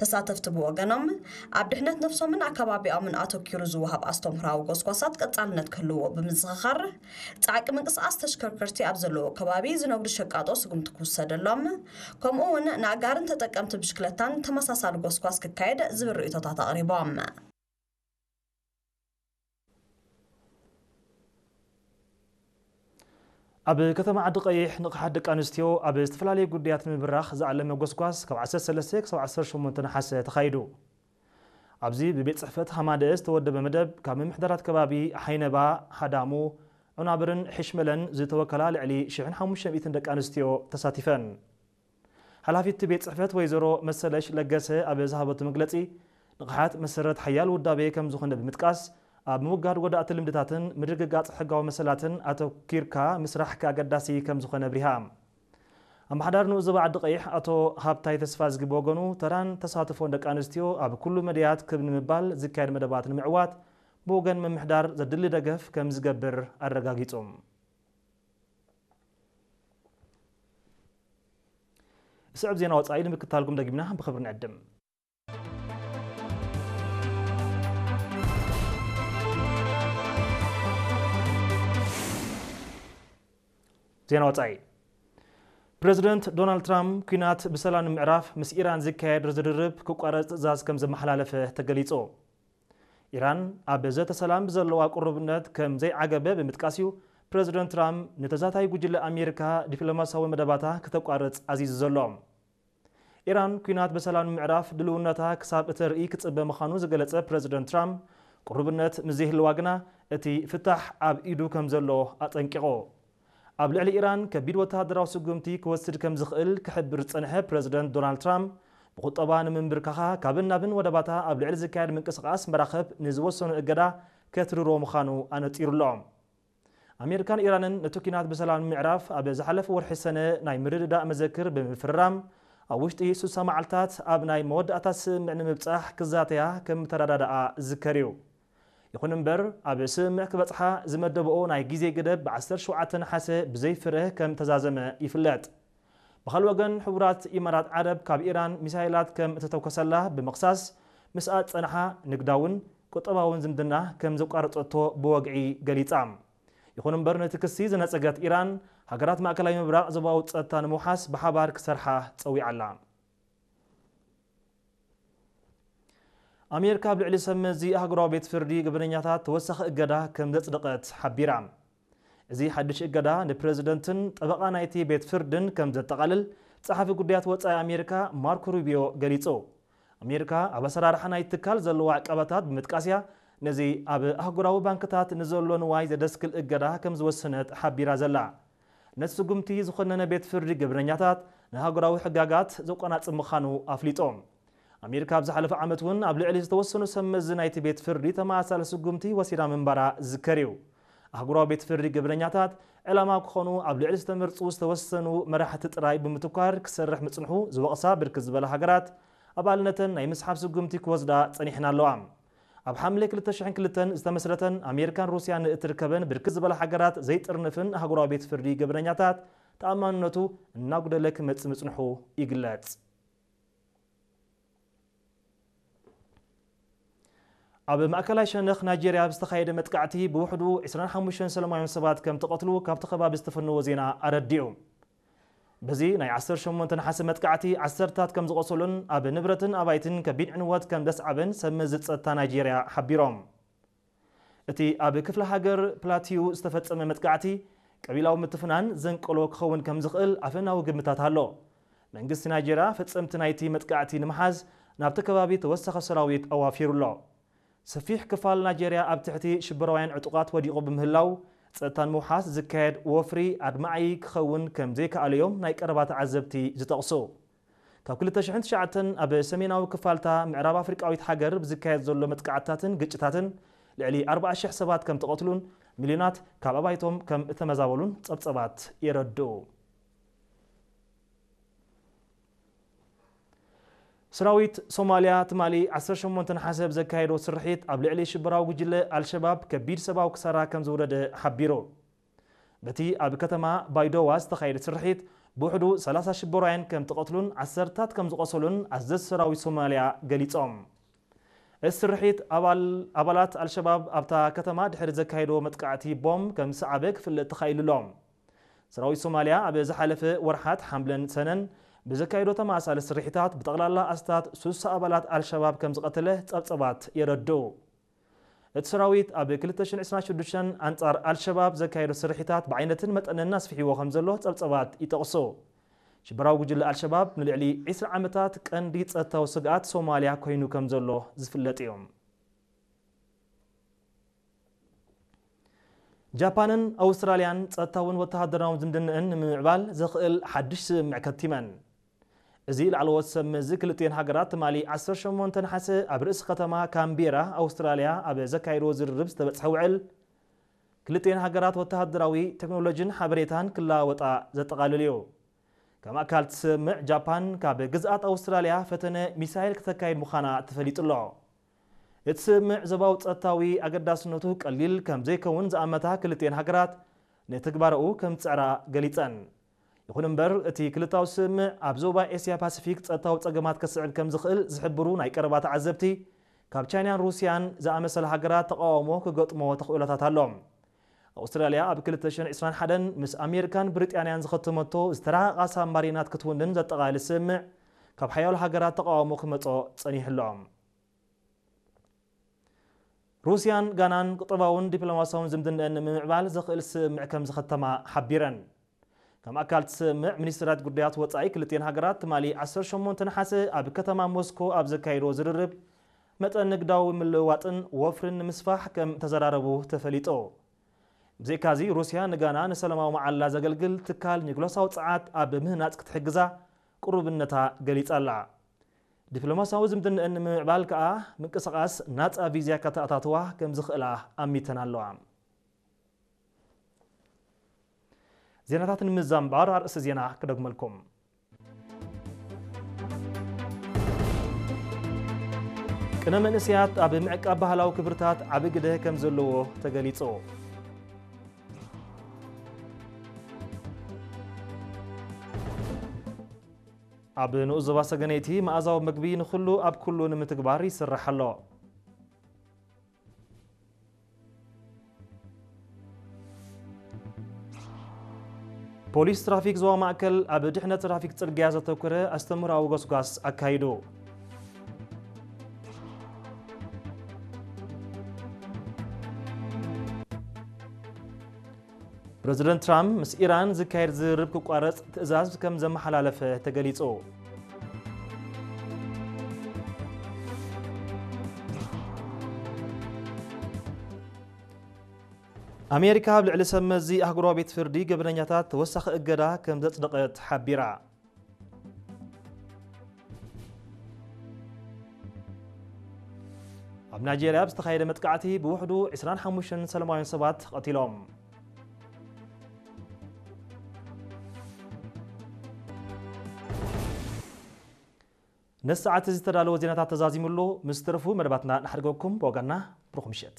ተሳተፍቲ ብወገኖም፣ ኣብ ድሕነት ነፍሶምን ኣከባቢኦምን ኣተኪሩ ዝወሃብ ኣስተምህሮኣዊ ጎስጓሳት ቀጻልነት ክህልዎ ብምዝኽኻር፣ ጻዕቂ ምንቅስቓስ ተሽከርከርቲ ኣብ ዘለዎ ከባቢ ዝነግዱ ሸቃጦ ስጉምቲ ክውሰደሎም፣ ከምኡ እውን ንኣጋርን ተጠቀምቲ ብሽክለታን ተመሳሳሊ ጎስጓስ ክካየድ ዝብል ርእይቶታት ኣቕሪቦም። ኣብ ከተማ ዓዲ ቀይሕ ንቕሓት ደቂ ኣንስትዮ ኣብ ዝተፈላለዩ ጉዳያት ንምብራኽ ዝዓለመ ጎስጓስ ካብ ዓሰርተ ሰለስተ ክሳብ ዓሰርተ ሸሞንተ ነሓሰ ተኻይዱ። ኣብዚ ብቤት ጽሕፈት ሃማደኤ ዝተወደበ መደብ ካብ ምምሕዳራት ከባቢ ሓይነባ፣ ሃዳሙ፣ ዑናብርን ሕሽመለን ዝተወከላ ልዕሊ ሽሕን ሓሙሽተ ሚእትን ደቂ ኣንስትዮ ተሳቲፈን። ሓላፊት ቤት ጽሕፈት ወይዘሮ መሰለሽ ለገሰ ኣብ ዝሃበቱ መግለጺ፣ ንቕሓት መሰረት ሓያል ውዳቤ ከም ዝኾነ ብምጥቃስ፣ ኣብ ምውጋድ ጎዳእቲ ልምድታትን ምርግጋጽ ሕጋዊ መሰላትን ኣተኪርካ ምስራሕ ኣገዳሲ ከም ዝኾነ ኣብሪሃ። ኣመሓዳሪ ንኡስ ዞባ ዓዲ ቀይሕ ኣቶ ሃብታይ ተስፋዝጊ ብወገኑ፣ ተራን ተሳትፎን ደቂ ኣንስትዮ ኣብ ኩሉ መድያት ክብ ንምባል ዝካየድ መደባት ንምዕዋት ብወገን ምምሕዳር ዘድሊ ደገፍ ከም ዝገብር ኣረጋጊጹ። ስዕብ ዜና ወጻኢ ንምክታልኩም ደጊምና ብኽብሪ ንዕድም። ዜና ወጻኢ። ፕረዚደንት ዶናልድ ትራምፕ ኲናት ብሰላም ንምዕራፍ ምስ ኢራን ዝካየድ ዝርርብ ክቋረጽ ትእዛዝ ከም ዘመሓላለፈ ተገሊጹ። ኢራን ኣብ ዘተ ሰላም ብዘለዋ ቅሩብነት ከም ዘይዓገበ ብምጥቃስ እዩ ፕረዚደንት ትራምፕ ንተዛታይ ጉጅለ ኣሜሪካ ዲፕሎማሲያዊ መደባታ ክተቋርጽ ኣዚዙ ዘሎ። ኢራን ኲናት ብሰላም ንምዕራፍ ድልውነታ ክሳብ እተርኢ ክጽበ ምዃኑ ዝገለጸ ፕረዚደንት ትራምፕ፣ ቅሩብነት ምስ ዘይህልዋ ግና እቲ ፍታሕ ኣብ ኢዱ ከም ዘሎ ኣጠንቂቑ። ኣብ ልዕሊ ኢራን ከቢድ ወተሃደራዊ ስጉምቲ ክወስድ ከም ዝኽእል ክሕብር ዝጸንሐ ፕረዚደንት ዶናልድ ትራምፕ፣ ብቁጠባ ንምንብርካኻ ካብን ናብን ወደባታ ኣብ ልዕሊ ዝካየድ ምንቅስቓስ መራኽብ ንዝወሰኖ እገዳ ከትርሮ ምዃኑ ኣነጺሩ ኣሎ። ኣሜሪካን ኢራንን ነቲ ኲናት ብሰላም ንምዕራፍ ኣብ ዝሓለፈ ወርሒ ሰነ ናይ ምርድዳእ መዘክር ብምፍርራም፣ ኣብ ውሽጢ ስሳ መዓልታት ኣብ ናይ መወዳእታ ስምምዕ ንምብጻሕ ክዛተያ ከም ተረዳድኣ ዝዝከር እዩ። ይኹን እምበር፣ ኣብ ስምምዕ ክበጽሓ ዝመደብኦ ናይ ግዜ ገደብ ብ ዓሰርተ ሸውዓተ ነሓሰ ብዘይ ፍረ ከም ተዛዘመ ይፍለጥ። ብኻልእ ወገን፣ ሕቡራት ኢማራት ዓረብ ካብ ኢራን ሚሳይላት ከም እተተኮሰላ ብምኽሳስ፣ ምስኣ ዝጸንሓ ንግዳውን ቁጠባውን ዝምድና ከም ዘቋረጸቶ ብወግዒ ገሊጻ። ይኹን እምበር፣ ነቲ ክሲ ዝነጸገት ኢራን፣ ሃገራት ማእከላይ ምብራቕ ዞባዊ ጸጥታ ንምውሓስ ብሓባር ክሰርሓ ጸዊዓ ኣላ። ኣሜሪካ ኣብ ልዕሊ ሰብ መዚ ኣህጉራዊ ቤት ፍርዲ ገበነኛታት ተወሳኺ እገዳ ከም ዘጽደቐት ሓቢራ። እዚ ሓድሽ እገዳ ንፕረዚደንትን ጠበቓ ናይቲ ቤት ፍርድን ከም ዘጠቓልል ጸሓፊ ጉዳያት ወጻኢ ኣሜሪካ ማርኮ ሩቢዮ ገሊጹ። ኣሜሪካ ኣብ ኣሰራርሓ ናይ ትካል ዘለዋ ዕቀባታት ብምጥቃስ እያ ነዚ ኣብ ኣህጉራዊ ባንክታት ንዘሎ ንዋይ ዘደስክል እገዳ ከም ዝወሰነት ሓቢራ ዘላ። ነቲ ስጉምቲ ዝኾነነ ቤት ፍርዲ ገበነኛታት ንኣህጉራዊ ሕጋጋት ዘቆናጽብ ምዃኑ ኣፍሊጡ። ኣሜሪካ ኣብ ዝሓለፈ ዓመት እውን ኣብ ልዕሊ ዝተወሰኑ ሰብ መዚ ናይቲ ቤት ፍርዲ ተመሳሳሊ ስጉምቲ ወሲዳ ምንባራ ዝዝከር እዩ። ኣህጉራዊ ቤት ፍርዲ ገበነኛታት ዕላማ ክኾኑ ኣብ ልዕሊ ዝተመርጹ ዝተወሰኑ መራሕቲ ጥራይ ብምትኳር ክሰርሕ ምጽንሑ ዝወቕሳ ብርክት ዝበላ ሃገራት ኣባልነተን ናይ ምስሓብ ስጉምቲ ክወስዳ ጸኒሕን ኣለዋ። ኣብ ሓምለ ክልተ ሽሕን ክልተን ዝተመስረተን ኣሜሪካን ሩስያን እትርከበን ብርክት ዝበላ ሃገራት ዘይጥርንፍን ኣህጉራዊ ቤት ፍርዲ ገበነኛታት ተኣማንነቱ እናጉደለ ክመጽእ ምጽንሑ ይግለጽ። ኣብ ማእከላይ ሸነኽ ናይጄርያ ብዝተኻየደ መጥቃዕቲ ብውሕዱ ዕስራን ሓሙሽተን ሰላማውያን ሰባት ከም ተቐትሉ ካብቲ ከባቢ ዝተፈነወ ዜና ኣረዲኡ። በዚ ናይ ዓሰርተ ሸሞንተ ነሓሰ መጥቃዕቲ ዓሰርታት ከም ዝቖሰሉን ኣብ ንብረትን ኣባይትን ከቢድ ዕንወት ከም ዘስዓበን ሰብ መዚ ጸጥታ ናይጄርያ ሓቢሮም። እቲ ኣብ ክፍለ ሃገር ፕላቲዩ ዝተፈጸመ መጥቃዕቲ ቀቢላዊ ምትፍናን ዘንቀሎ ክኸውን ከም ዝኽእል ኣፈናዊ ግምታት ኣሎ። መንግስቲ ናይጄርያ ፈጸምቲ ናይቲ መጥቃዕቲ ንምሓዝ ናብቲ ከባቢ ተወሳኺ ሰራዊት ኣዋፊሩ ኣሎ። ሰፊሕ ክፋል ናይጄርያ ኣብ ትሕቲ ሽበራውያን ዕጡቓት ወዲቑ ብምህላው፣ ጸጥታ ንምውሓስ ዝካየድ ወፍሪ ኣድማዒ ክኸውን ከም ዘይከኣለ እዮም ናይ ቀረባ ተዓዘብቲ ዝጠቕሱ። ካብ ክልተ ሽሕን ትሽዓተን ኣብ ሰሜናዊ ክፋልታ ምዕራብ ኣፍሪቃዊት ሃገር ብዝካየድ ዘሎ መጥቃዕትታትን ግጭታትን ልዕሊ ኣርባዓ ሽሕ ሰባት ከም ተቐትሉን ሚልዮናት ካብ ኣባይቶም ከም እተመዛበሉን ጸብጸባት የረድኡ። ሰራዊት ሶማልያ ትማሊ ዓሰርተ ሸሞንተ ነሓሰ ብዘካየዶ ስርሒት ኣብ ልዕሊ ሽበራዊ ጉጅለ ኣልሸባብ ከቢድ ሰብኣዊ ክሳራ ከም ዝወረደ ሓቢሩ። በቲ ኣብ ከተማ ባይዶዋ ዝተኻየደ ስርሒት ብውሕዱ ሰላሳ ሽበራውያን ከም ተቐትሉን ዓሰርታት ከም ዝቖሰሉን ኣዘዝቲ ሰራዊት ሶማልያ ገሊጾም። እቲ ስርሒት ኣባል-፣ ኣባላት ኣልሸባብ ኣብታ ከተማ ድሕሪ ዘካየድዎ መጥቃዕቲ ቦምብ ከም ዝሰዓበ ክፍለጥ ተኻኢሉ ኣሎ። ሰራዊት ሶማልያ ኣብ ዝሓለፈ ወርሓት ሓምለን ሰነን ብዘካየዶ ተመሳሳሊ ስርሒታት ብጠቕላላ ኣስታት ሱሳ ኣባላት ኣልሸባብ ከም ዝቐተለ ጸብጸባት የረድኡ። እቲ ሰራዊት ኣብ ክልተ ሽሕን ዕስራን ሽዱሽተን ኣንጻር ኣልሸባብ ዘካየዶ ስርሒታት ብዓይነትን መጠንን ኣስፊሕዎ ከም ዘሎ ጸብጸባት ይጠቕሱ። ሽበራዊ ጉጅለ ኣልሸባብ ንልዕሊ ዕስራ ዓመታት ቀንዲ ጸጥታዊ ስግኣት ሶማልያ ኮይኑ ከም ዘሎ ዝፍለጥ እዩ። ጃፓንን ኣውስትራልያን ጸጥታውን ወተሃደራውን ዝምድንእን ንምምዕባል ዘኽእል ሓድሽ ስምምዕ ከቲመን። እዚ ላዕለዎት ሰብ መዚ ክልቲኤን ሃገራት ትማሊ ዓሰርተ ሸሞንተ ነሓሰ ኣብ ርእሲ ከተማ ካምቤራ ኣውስትራልያ ኣብ ዘካየድዎ ዝርርብ ዝተበጽሐ ውዕል፣ ክልቲኤን ሃገራት ወተሃደራዊ ቴክኖሎጂን ሓበሬታን ክለዋወጣ ዘጠቓልል እዩ። ከም ኣካል እቲ ስምምዕ፣ ጃፓን ካብ ግዝኣት ኣውስትራልያ ፈተነ ሚሳይል ክተካይድ ምዃና ተፈሊጡ ኣሎ። እቲ ስምምዕ ዞባዊ ጸጥታዊ ኣገዳስነቱ ቀሊል ከም ዘይከውን ዝኣመታ ክልቲኤን ሃገራት፣ ንትግባረኡ ከም ዝጽዕራ ገሊጸን። ይኹን እምበር፣ እቲ ክልታዊ ስምምዕ ኣብ ዞባ ኤስያ ፓሲፊክ ጸጥታዊ ጸገማት ከስዕብ ከም ዝኽእል ዝሕብሩ ናይ ቀረባ ተዓዘብቲ፣ ካብ ቻይናን ሩስያን ዝኣመሰላ ሃገራት ተቓውሞ ክገጥሞ ተኽእሎታት ኣሎ። ኣውስትራልያ ኣብ ክልተ ሽሕን ዕስራን ሓደን ምስ ኣሜሪካን ብሪጣንያን ዝኸተመቶ ዝተራቐቓ ሳብማሪናት ክትውንን ዘጠቓልል ስምምዕ፣ ካብ ሓያሎ ሃገራት ተቓውሞ ክመጾ ጸኒሑ ኣሎ። ሩስያን ጋናን ቁጠባውን ዲፕሎማሲያውን ዝምድንአን ንምምዕባል ዘኽእል ስምምዕ ከም ዝኸተማ ሓቢረን። ከም ኣካል እቲ ስምምዕ፣ ሚኒስትራት ጉዳያት ወጻኢ ክልቲኤን ሃገራት ትማሊ ዓሰርተ ሸሞንተ ነሓሰ ኣብ ከተማ ሞስኮ ኣብ ዘካየድዎ ዝርርብ፣ መጠን ንግዳዊ ምልውዋጥን ወፍርን ንምስፋሕ ከም ተዘራረቡ ተፈሊጡ። ብዘይካዚ፣ ሩስያ ንጋና ንሰላማዊ መዓላ ዘገልግል ትካል ኒኩለሳዊ ጸዓት ኣብ ምህናጽ ክትሕግዛ ቅሩብነታ ገሊጻ ኣላ። ዲፕሎማሲያዊ ዝምድንአን ንምምዕባል ከኣ ምንቅስቓስ ናጻ ቪዛ ከተኣታትዋ ከም ዝኽእላ ኣሚተን ኣለዋ። ዜናታት ንምዝዛም እምበኣር ኣርእስቲ ዜና ክደግመልኩም። ቅነ መንእሰያት ኣብ ምዕቃብ ባህላዊ ክብርታት ዓቢ ግደ ከም ዘለዎ ተገሊጹ። ኣብ ንኡስ ዞባ ሰገነይቲ መኣዛዊ መግቢ ንኹሉ ኣብ ኩሉ ንምትግባር ይስራሕ ኣሎ። ፖሊስ ትራፊክ ዞባ ማእከል ኣብ ድሕነት ትራፊክ ጽርግያ ዘተኮረ ኣስተምህሮኣዊ ጎስጓስ ኣካይዱ። ፕረዚደንት ትራምፕ ምስ ኢራን ዝካየድ ዝርርብ ክቋረጽ ትእዛዝ ከም ዘመሓላለፈ ተገሊጹ። ኣሜሪካ ኣብ ልዕሊ ሰብ መዚ ኣህጉራዊ ቤት ፍርዲ ገበነኛታት ተወሳኺ እገዳ ከም ዘጽደቐት ሓቢራ። ኣብ ናይጄርያ ብዝተኻየደ መጥቃዕቲ ብውሕዱ ዕስራን ሓሙሽተን ሰላማውያን ሰባት ተቐቲሎም። ነዚ ሰዓት እዚ ዝተዳለወ ዜናታት ተዛዚሙ ኣሎ። ምስ ተረፉ መደባትና ንሓድገኩም። ብወገንና ብሩኽ ምሸት።